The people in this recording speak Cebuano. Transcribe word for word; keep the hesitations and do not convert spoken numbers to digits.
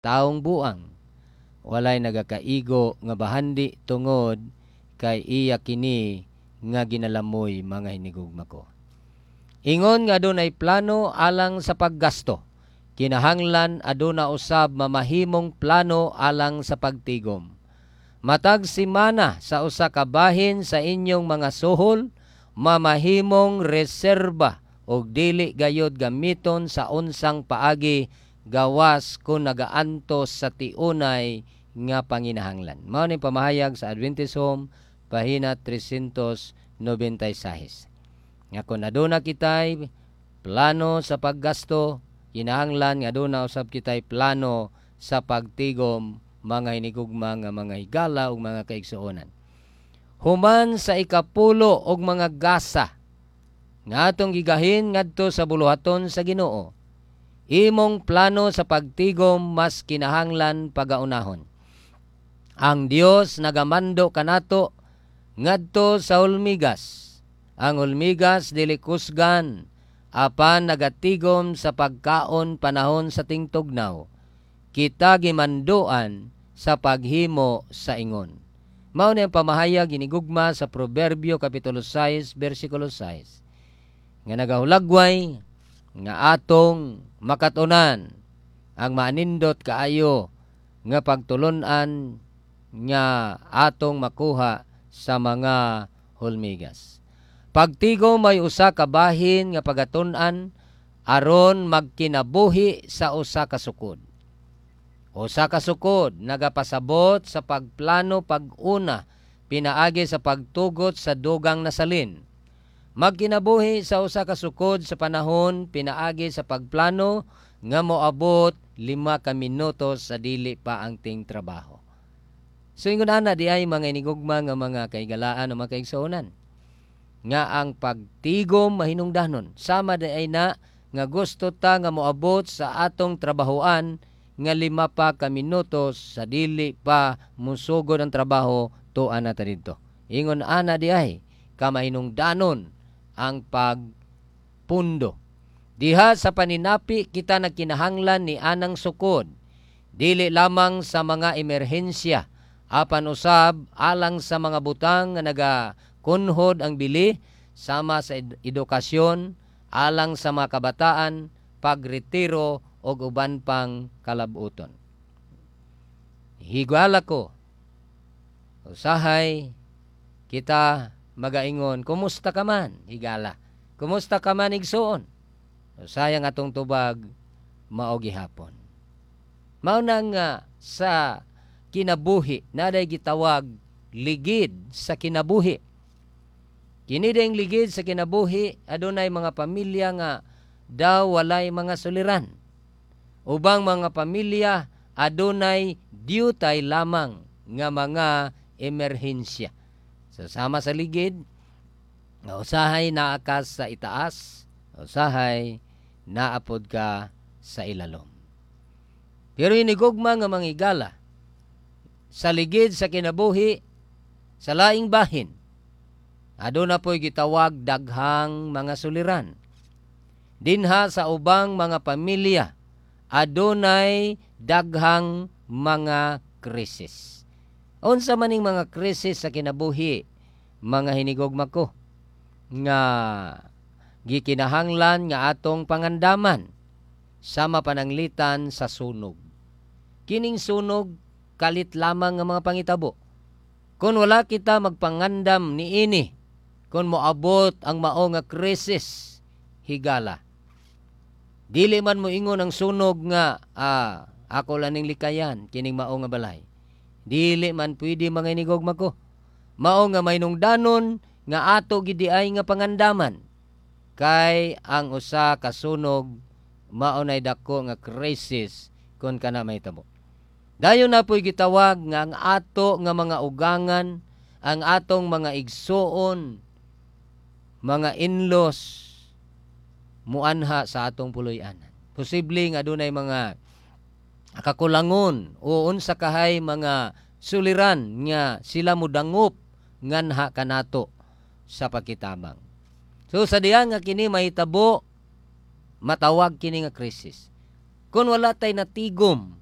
Taong buang, walay nagakaigo nga bahandi tungod kay iya kini nga ginalamoy, mga hinigugma ko. Ingon nga adunay plano alang sa paggasto, kinahanglan aduna usab mamahimong plano alang sa pagtigom. Matag semana, sa usa ka bahin sa inyong mga suhol mamahimong reserba ug dili gayod gamiton sa unsang paagi gawas kung nagaantos sa tiunay nga panginahanglan. Mao ni pamahayag sa Adventist Home, pahina trescientos noventa y six. Nga kung aduna kitay plano sa paggasto, kinahanglan nga aduna usab kitay plano sa pagtigom, mga hinigugma nga mga higala ug mga kaigsuonan. Human sa ikapulo og mga gasa nga atong gigahin ngadto sa buluhaton sa Ginoo, imong plano sa pagtigom mas kinahanglan pagaunahon. Ang Dios nagamando kanato ngadto sa hulmigas. Ang hulmigas dili kusgan apan nagatigom sa pagkaon panahon sa tingtugnaw. Kita gimanduan sa paghimo sa ingon. Mao ni ang pamahayag, hinigugma, sa Proverbio kapitulo sais bersikulo sais nga nagahulagway nga atong makatunan ang maanindot kaayo nga pagtulunan nga atong makuha sa mga hulmigas. Pagtigom may usa ka bahin nga pagatun-an aron magkinabuhi sa usa ka sukod. Usa ka sukod nagapasabot sa pagplano pag-una pinaagi sa pagtugot sa dugang nasalin. Magkinabuhi sa usa ka sukod sa panahon pinaagi sa pagplano nga moabot lima ka minuto sa dili pa ang ting trabaho. So ingon ana di ay, mga inigugma nga mga kaigalaan o mga kaigsuonan, nga ang pagtigom mahinungdanon sama di ay na nga gusto ta nga moabot sa atong trabahoan nga lima pa ka minutos sa dili pa musugod ang trabaho, tuan na ta didto. Ingon ana di ay kamahinungdanon ang pagpundo. Diha sa paninapi kita nagkinahanglan ni anang sukod, dili lamang sa mga emerhensya apan usab alang sa mga butang nga nagakunhod ang bili sama sa edukasyon alang sa mga kabataan, pagretiro og uban pang kalabuton. Higala ko, usahay kita magaingon, "Kumusta ka man, higala? Kumusta ka man, igsuon?" Usahay ang atong tubag, "Mao gihapon." Mao na nga sa kinabuhi naday gitawag ligid sa kinabuhi. Kini ding ligid sa kinabuhi, adunay mga pamilya nga daw walay mga suliran. Ubang mga pamilya adunay diyutay lamang nga mga emerhensya. So sama sa ligid, nga usahay naa ka sa itaas, usahay naapod ka sa ilalom. Pero inigugma nga mga higala, sa ligid sa kinabuhi, sa laing bahin, aduna po'y gitawag daghang mga suliran. Dinha sa ubang mga pamilya, adunay daghang mga krisis. Unsa maning mga krisis sa kinabuhi, mga hinigugma ko, nga gikinahanglan nga atong pangandaman? Sama pananglitan sa sunog. Kining sunog, kalit lamang nga mga pangitabo. Kung wala kita magpangandam niini, kung moabot ang mao nga krisis, higala, dili man mo ingon ang sunog nga ah, ako lang ning likayan kining mao nga balay. Dili man pwede, mga inigugma ko. Mao nga mahinungdanon nga ato gidi ay nga pangandaman kay ang usa ka sunog mao nay dako nga krisis kung kana mahitabo. Dayon na po'y gitawag nga ang ato nga mga ugangan, ang atong mga igsuon, mga in-laws, muanha sa atong puloy-anan. Posible nga adunay mga kakulangon o unsa kahay mga suliran nga sila mudangop nganha kanato sa pakitabang. So sa diha nga kini mahitabo, matawag kini nga krisis. Kung wala tay natigom